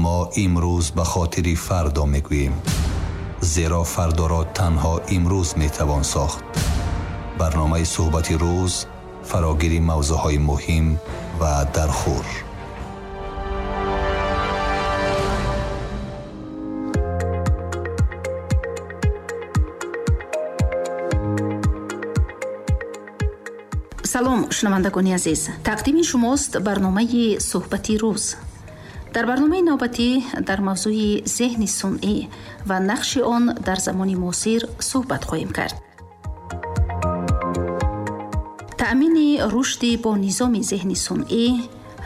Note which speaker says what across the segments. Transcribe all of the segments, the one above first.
Speaker 1: Мо имрӯз ба хотири фардо мегӯем, зеро фардоро танҳо имрӯз метавон сохт. Барномаи суҳбати рӯз фарогири мавзӯъҳои муҳим ва дархӯр.
Speaker 2: Салом, шунавандагони азиз. Тақдими шумост барномаи суҳбати рӯз. Дар барномаи навбатӣ дар мавзӯи зеҳни сунъӣ ва нақши он дар замони муосир суҳбат хоҳем кард. Таъмини рушди бо низоми зеҳни сунъӣ,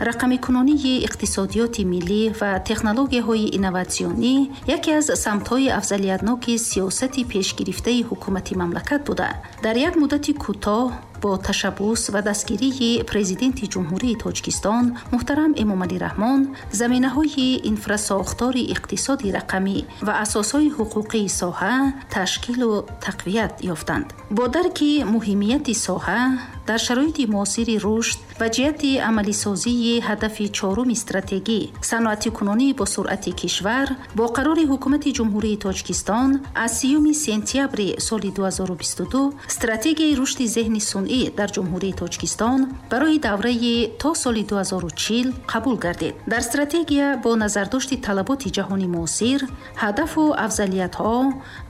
Speaker 2: рақамикунонии иқтисодиёти миллӣ ва технологияҳои инноватсионӣ яке аз самтҳои афзалиятноки сиёсати пешгирифтаи ҳукумати мамлакат буда, дар як муддати кӯтоҳ бо ташаббус ва дастгирии Президенти Ҷумҳурии Тоҷикистон муҳтарам Эмомалӣ Раҳмон заминаҳои инфрасохтори иқтисоди рақамӣ ва асосҳои ҳуқуқии соҳа ташкилу тақвият ёфтанд. Бо дарки муҳимияти соҳа дар шароити муосири рушд ва ҷиҳати амалисозии ҳадафи чоруми стратегӣ саноатикунонӣ бо суръати кишвар бо қарори Ҳукумати Ҷумҳурии Тоҷикистон аз 3 сентябри соли 2022 стратегияи рушди зеҳни сунъӣ дар Ҷумҳурии Тоҷикистон барои давраи то соли 2040 қабул гардид. Дар стратегия бо назардошти талаботи ҷаҳони муосир, ҳадафу афзалиятҳо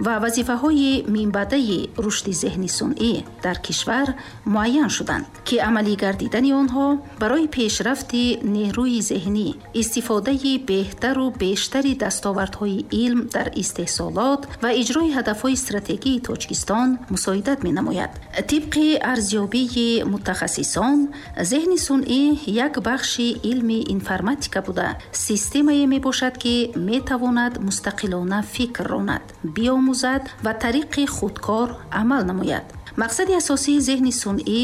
Speaker 2: ва вазифаҳои минбаъдаи рушди зеҳни сунъӣ дар кишвар муайян шуданд, ки амалӣ гардидани онҳо барои пешрафти нерӯи зеҳнӣ, истифодаи беҳтару бештари дастовардҳои илм дар истеҳсолот ва иҷрои ҳадафҳои стратегии Тоҷикистон мусоидат менамояд. Тибқи арзёбии мутахассисон, зеҳни сунъӣ як бахши илми информатика буда, системае мебошад, ки метавонад мустақилона фикр ронад, биомӯзад ва тариқи худкор амал намояд. Мақсади асосии зеҳни сунъӣ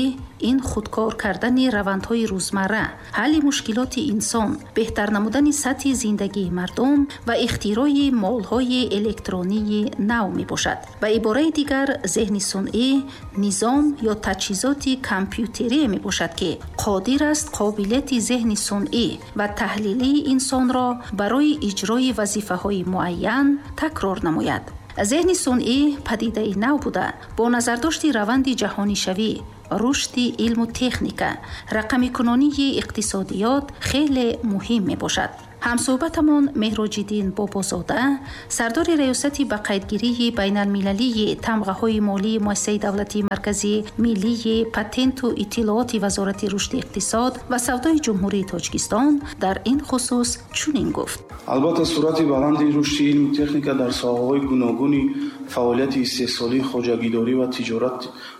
Speaker 2: ин худкор кардани равандҳои рӯзмарра, ҳалли мушкилоти инсон, беҳтар намудани сатҳи зиндагии мардум ва ихтирои молҳои электронии нав мебошад. Ба ибораи дигар, зеҳни сунъӣ низом ё таҷҳизоти компютерие мебошад, ки қодир аст қобилияти зеҳни сунъӣ ва таҳлилии инсонро барои иҷрои вазифаҳои муайян такрор намояд. Зеҳни сунъӣ падидаи нав буда, бо назардошти раванди ҷаҳонишавӣ, рушди илму техника, рақамикунонии иқтисодиёт хеле муҳим мебошад. Ҳамсӯҳбатамон Меҳроҷиддин Бобозода, сардори Раёсати ба қайдгирии байналмилалии тамғаҳои молии Муассисаи давлатии марказии миллии патенту иттилооти Вазорати рушди иқтисод ва савдои Ҷумҳурии Тоҷикистон дар ин хусус чунин гуфт.
Speaker 3: Албатта, суръати баланди рушди илму техника дар соҳаҳои гуногуни фаъолияти истеҳсолӣ, хоҷагидорӣ ва тиҷорат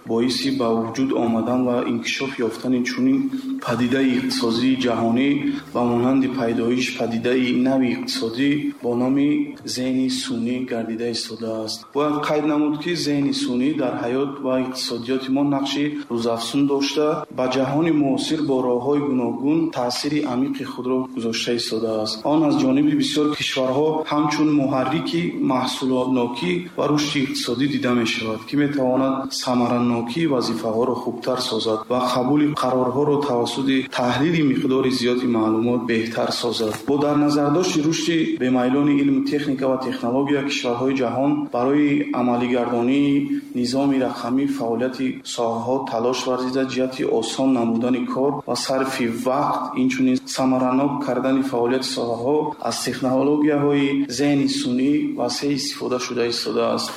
Speaker 3: боиси ба вуҷуд омадан ва инкишоф ёфтани чунин падидаи иқтисодии ҷаҳонӣ ба монанди пайдоиш падидаи нави иқтисодӣ бо номи зеҳни сунъӣ гардида истодааст. Бояд қайд намуд, ки зеҳни сунъӣ дар ҳаёт ва иқтисодиёти мо нақши рӯзафзун дошта, ба ҷаҳони муосир бо роҳҳои гуногун таъсири амиқи худро гузошта истодааст. Он аз ҷониби бисёр кишварҳо ҳамчун муҳаррики маҳсулотнокӣ ва рушди иқтисодӣ дида мешавад, ки метавонад самаранокии вазифаҳоро хубтар созад ва қабули қарорҳоро тавассути таҳлили миқдори зиёди маълумот беҳтар созад. Бо дар назардошти рушди бемайлони илму техника ва технология, кишварҳои ҷаҳон барои амалигардонии низоми рақамӣ фаъолияти соҳаҳо талош варзида, ҷиҳати осон намудани кор ва сарфи вақт, инчунин самаранок кардани фаъолияти соҳаҳо аз технологияҳои зеҳни сунъӣ васеъ истифода шуда истодааст.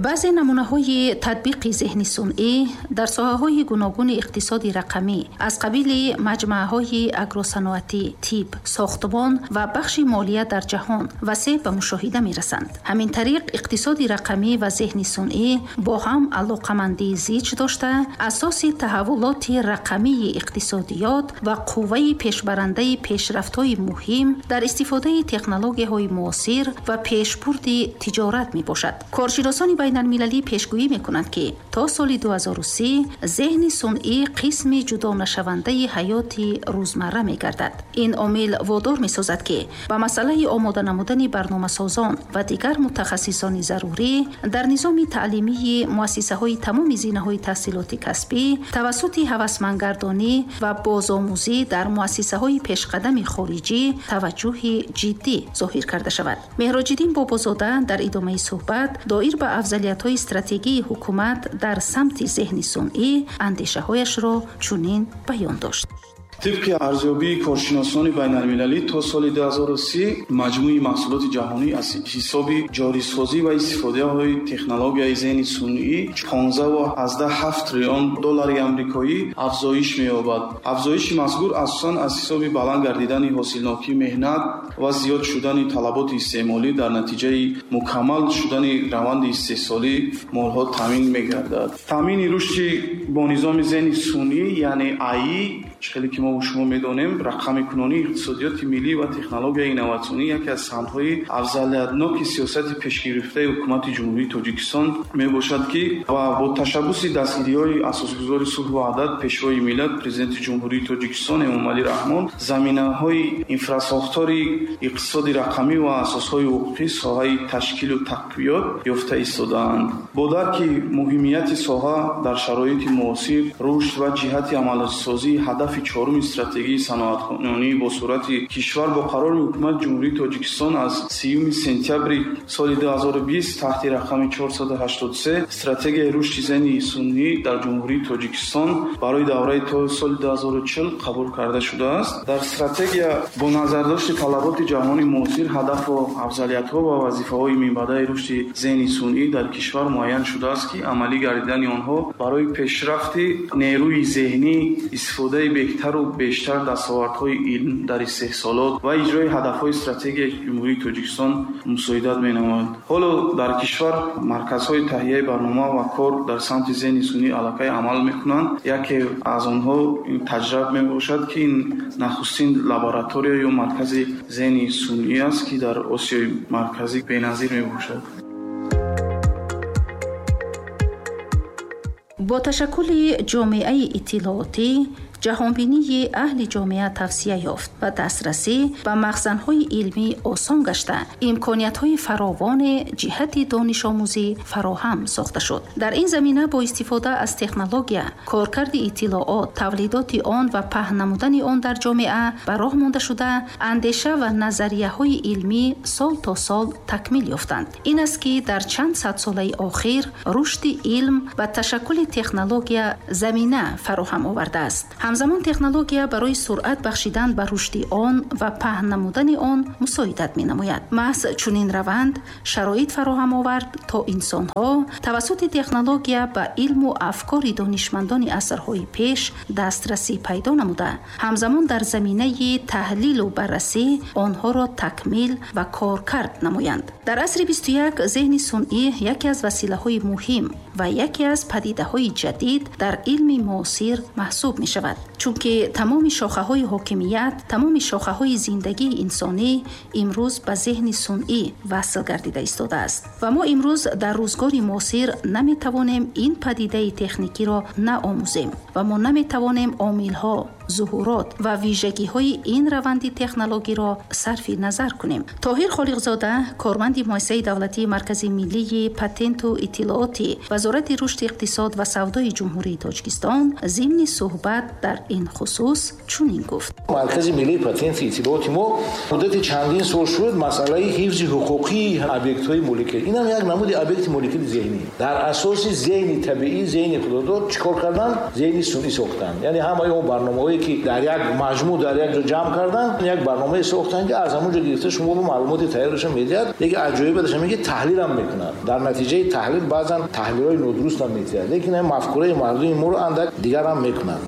Speaker 2: Баъзе намунаҳои татбиқи зеҳни сунъӣ дар соҳаҳои гуногуни иқтисоди рақамӣ аз қабили маҷмааҳои агросаноатӣ, тиб, сохтмон ва бахши молия дар ҷаҳон васеъ ба мушоҳида мерасанд. Ҳамин тариқ, иқтисоди рақамӣ ва зеҳни сунъӣ бо ҳам алоқамандии зич дошта, асоси таҳаввулоти рақамии иқтисодиёт ва қувваи пешбарандаи пешрафтҳои муҳим дар истифодаи технологияҳои муосир ва пешбурди тиҷорат мебошад. Коршиносони Байналмилалӣ пешгӯӣ мекунанд, ки то соли 2030 зеҳни сунъӣ қисми ҷудонашавандаи ҳаёти рӯзмарра мегардад. Ин омил водор месозад, ки ба масъалаи омода намудани барномасозон ва дигар мутахассисони зарурӣ дар низоми таълимии муассисаҳои тамоми зинаҳои таҳсилоти касбӣ тавассути ҳавасмандгардонӣ ва бозомӯзӣ дар муассисаҳои пешқадами хориҷӣ таваҷҷӯҳи ҷиддӣ зоҳир карда шавад. Меҳроҷиддин Бобозода дар идомаи суҳбат доир ба афзалиятҳои стратегии ҳукумат дар самти зеҳни сунъӣ андешаҳояшро чунин баён дошт.
Speaker 3: Тибқи арзёбии коршиносони байналмилалӣ то соли 2030 маҷмӯи маҳсулоти ҷаҳонӣ аз ҳисоби ҷорисозӣ ва истифодаҳои технологияи зеҳни сунъӣ 15,7 триллион доллари амрикоӣ афзоиш меёбад. Афзоиши мазкур асосан аз ҳисоби баланд гардидани ҳосилнокии меҳнат ва зиёд шудани талаботи истеъмолӣ дар натиҷаи мукаммал шудани раванди истеҳсолии молҳо таъмин мегардад. Таъмини рушди бо низоми зеҳни сунъӣ, яъне АИ, хеле ки мо шумо медонем, рақамикунонии иқтисодиёти миллӣ ва технологияи инноватсионӣ яке аз самтҳои афзалиятноки сиёсати пешгирифтаи ҳукумати Ҷумҳурии Тоҷикистон мебошад, ки ва бо ташаббуси дастгириҳои асосгузори сулҳу ваҳдат, Пешвои миллат, Президенти Ҷумҳурии Тоҷикистон Эмомалӣ Раҳмон заминаҳои инфрасохтори иқтисоди рақамӣ ва асосҳои ҳуқуқӣ соҳаи ташкилу тақвиёт ёфта истодаанд. Бо дарки муҳимияти соҳа дар шароити муосир, рушд ва ҷиҳати амалисозии ҳадафи чоруми стратегии саноаткунонӣ бо суръати кишвар бо қарори ҳукумати Ҷумҳурии Тоҷикистон аз 30 сентябри соли 2020 таҳти рақами 483 стратегияи рушди зеҳни сунъӣ дар Ҷумҳурии Тоҷикистон барои давраи то соли 2040 қабул карда шудааст. Дар стратегия бо назардошти талаботи ҷаҳони муосир, ҳадафу афзалиятҳо ва вазифаҳои минбаъдаи рушди зеҳни сунъӣ дар кишвар муайян шудааст, ки амалӣ гардидани онҳо барои пешрафти нерӯи зеҳнӣ, истифодаи беҳтару бештар дастовардҳои илм дар истеҳсолот ва иҷрои ҳадафҳои стратегияи Ҷумҳурии Тоҷикистон мусоидат менамояд. Ҳоло дар кишвар марказҳои таҳияи барнома ва кор дар самти зеҳни сунъӣ аллакай амал мекунанд. Яке аз онҳо ин таҷриб мебошад, ки ин нахустин лаборатория ё маркази зеҳни сунъӣ аст, ки дар Осиёи Марказӣ беназир мебошад.
Speaker 2: Бо ташаккули ҷомеаи иттилоотӣ ҷаҳонбинии аҳли ҷомеа тавсия ёфт ва дастрасӣ ба махзанҳои илмӣ осон гашта, имкониятҳои фаровоне ҷиҳати донишомӯзӣ фароҳам сохта шуд. Дар ин замина бо истифода аз технология, коркарди иттилоот, тавлидоти он ва паҳн намудани он дар ҷомеа ба роҳ монда шуда, андеша ва назарияҳои илмӣ сол то сол такмил ёфтанд. Ин аст, ки дар чанд садсолаи охир рушди илм ва ташаккули технология замина фароҳам овардааст. Ҳамзамон технология барои суръат бахшидан ба рушди он ва паҳн намудани он мусоидат менамояд. Маҳз чунин раванд шароит фароҳам овард, то инсонҳо тавассути технология ба илму афкори донишмандони асрҳои пеш дастрасӣ пайдо намуда, ҳамзамон дар заминаи таҳлилу баррасӣ онҳоро такмил ва коркард намоянд. Дар асри 21 зеҳни сунъӣ яке аз василаҳои муҳим ва яке аз падидаҳои ҷадид дар илми муосир маҳсуб мешавад. Чунки тамоми шохаҳои ҳокимият, тамоми шохаҳои зиндагии инсонӣ имрӯз ба зеҳни сунъӣ васл гардида истодааст. Ва мо имрӯз дар рӯзгори муосир наметавонем ин падидаи техникиро наомӯзем ва мо наметавонем омилҳо, зуҳурот ва вижагиҳои ин раванди технологиро сарфи назар кунем. Тоҳир Холиқзода, корманди муассисаи давлатии Маркази миллии патенту иттилооти Вазорати рушди иқтисод ва савдои Ҷумҳурии Тоҷикистон, зимни суҳбат дар ин хусус чунин гуфт.
Speaker 4: Маркази миллии патенти иттилооти мо муддати чандин сол шуд масъалаи ҳифзи ҳуқуқии объектҳои моликият. Инам як намуди объекти моликияти зеҳнӣ. Дар асоси зеҳни табиӣ, зеҳни худодод чӣ кор кардан? Зеҳни сунъӣ сохтан. Яъне ҳамаи он барномаҳое ки дар як маҷмӯъ дар як ҷо ҷамъ кардан, як барномае сохтан, ки аз ҳамон ҷо гирифта шумо бо маълумоти тайёрашон медиҳад. Лекин аҷоибаш ҳамин ки таҳлил ҳам мекунад. Дар натиҷаи таҳлил баъзан таҳлилҳои нодуруст ҳам медиҳад, лекин ҳамин мафкураи мардуми моро андак дигар ҳам мекунад.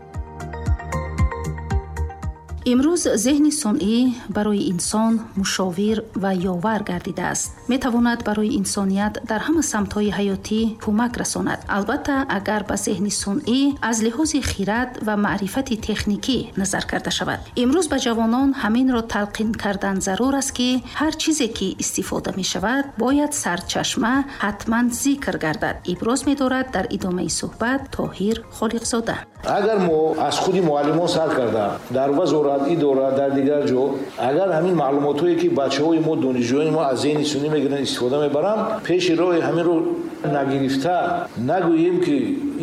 Speaker 2: Имрӯз зеҳни сунъӣ барои инсон мушовир ва ёвар гардидааст. Метавонад барои инсоният дар ҳама самтҳои ҳаётӣ кӯмак расонад. Албатта, агар ба зеҳни сунъӣ аз лиҳози хирад ва маърифати техникӣ назар карда шавад. Имрӯз ба ҷавонон ҳаминро талқин кардан зарур аст, ки ҳар чизе ки истифода мешавад, бояд сарчашма ҳатман зикр гардад. Иброз медорад дар идомаи суҳбат Тоҳир Холиқзода.
Speaker 4: Агар мо аз худи муаллимон сар карда дар вазорат, идора, дар дигар ҷо, агар ҳамин маълумотҳое ки бачаҳои мо, донишҷӯёни мо аз зеҳни сунъӣ мегиранд, истифода мебаранд, пеши роҳи ҳаминро нагирифта нагӯем ки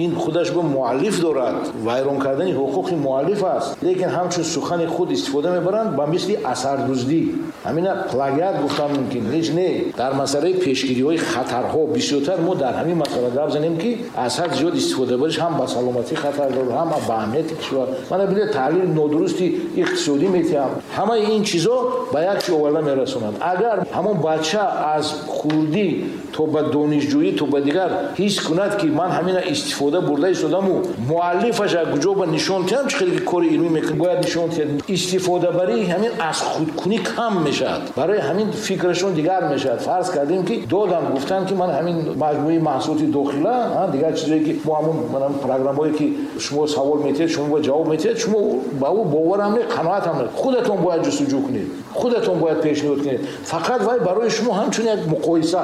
Speaker 4: ин худаш бо муаллиф дорад, вайрон кардани ҳуқуқи муаллиф аст, лекин ҳамчун сухани худ истифода мебаранд ба мисли асардуздӣ. Ҳамина плагиат гуфтан мумкин ҳеҷ не. Дар масъалаи пешгириҳои хатарҳо бисёртар мо дар ҳамин масъала гап занем, ки аз ҳад зиёд истифода бариш ҳам ба саломатӣ хатар дорад, ҳам ба амнияти кишвар. Мана бинед, таҳлили нодурусти иқтисодӣ метиҳам. Ҳамаи ин чизо ба як чиз оварда мерасонанд. Агар ҳамон бача аз хурдӣ то ба донишҷӯӣ, то ба дигар ҳис кунад, ки ман ҳамина истифода бурда истодаму муаллифаш аз куҷо ба нишон диҳам, чӣ хеле ки кори илмӣ мекунад, бояд нишон диҳад. Истифодабарии ҳамин аз худкунӣ кам мешавад, барои ҳамин фикрашон дигар мешавад. Фарз кардем, ки додам, гуфтанд, ки ман ҳамин маҷмӯи маҳсулоти дохила, дигар чизое ки мо ҳамон программое ки шумо савол метиҳед, шумо бояд ҷавоб метиҳед, шумо ба ӯ бовар ҳам не, қаноат ҳам не. Худатон бояд ҷустуҷӯ кунед, худатон бояд пешниҳод кунед. Фақат вай барои шумо ҳамчун як муқоиса,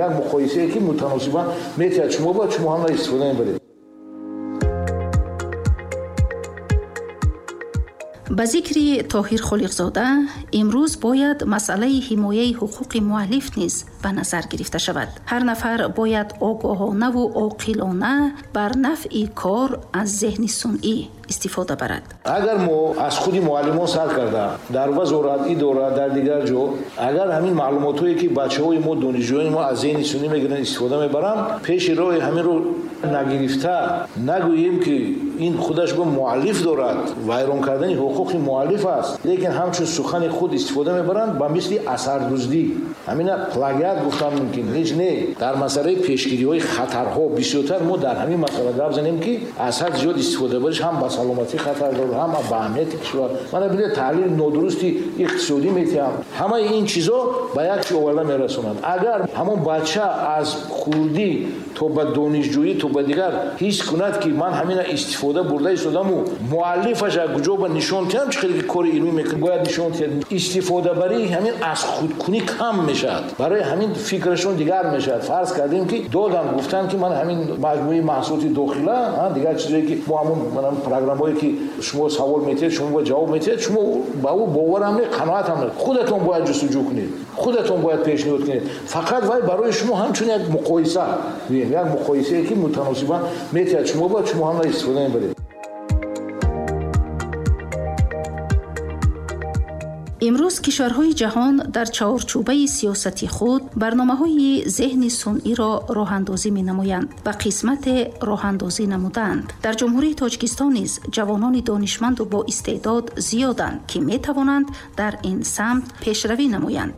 Speaker 4: як муқоисае ки мутаносибан метиҳад, шумо бояд шумо ҳам истифода мебаред.
Speaker 2: Ба зикри Тоҳир Холиқзода, имрӯз бояд масъалаи ҳимояи ҳуқуқи муаллиф низ ба назар гирифта шавад. Ҳар нафар бояд огоҳонаву оқилона бар нафъи кор аз зеҳни сунъӣ истифода барад.
Speaker 4: Агар мо аз худи муаллимон сар карда дар вазорат, идора, дар дигар ҷо, агар ҳамин маълумотҳое ки бачаҳои мо, донишҷӯёни мо аз зеҳни сунъӣ мегиранд, истифода мебаранд, пеши роҳи ҳаминро нагирифта нагӯем, ки ин худаш бо муаллиф дорад, вайрон кардани ҳуқуқи муаллиф аст, лекин ҳамчун сухани худ истифода мебаранд ба мисли асардуздӣ. Ҳамина плагиат гуфтан мумкин ҳеҷ не. Дар масъалаи пешгириҳои хатарҳо бисёртар мо дар ҳамин масъала гап занем, ки аз ҳад зиёд истифода бариш ҳам ба саломатӣ хатар дорад, ҳам ба амнияти кишвар. Мана бинед, таҳлили нодурусти иқтисодӣ метиҳам. Ҳамаи ин чизо ба як чиз оварда мерасонанд. Агар ҳамон бача аз хурдӣ то ба донишҷӯӣ, то ба дигар ҳис кунад, ки ман ҳамина истифода бурда истодаму муаллифаш аз куҷо ба нишон диҳам, чӣ хеле ки кори илмӣ мекунад, бояд нишон диҳад. Истифодабарии ҳамин аз худкунӣ кам мешавад, барои ҳамин фикрашон дигар мешавад. Фарз кардем, ки додам, гуфтанд, ки ман ҳамин маҷмӯи маҳсулоти дохила, дигар чизое ки мо ҳамон программое ки шумо савол метиҳед, шумо бояд ҷавоб метиҳед, шумо ба ӯ бовар ҳам не, қаноат ҳам не. Худатон бояд ҷустуҷӯ кунед, худатон бояд пешниҳод кунед. Фақат вай барои шумо ҳамчун як муқоиса, як муқоисае ки мутаносибан метиҳад, шумо бояд шумо ҳам истифода мебаред.
Speaker 2: Имрӯз кишварҳои ҷаҳон дар чаҳорчӯбаи сиёсати худ барномаҳои зеҳни сунъиро роҳандозӣ менамоянд ва қисмате роҳандозӣ намудаанд. Дар Ҷумҳурии Тоҷикистон низ ҷавонони донишманду боистеъдод зиёданд, ки метавонанд дар ин самт пешравӣ намоянд.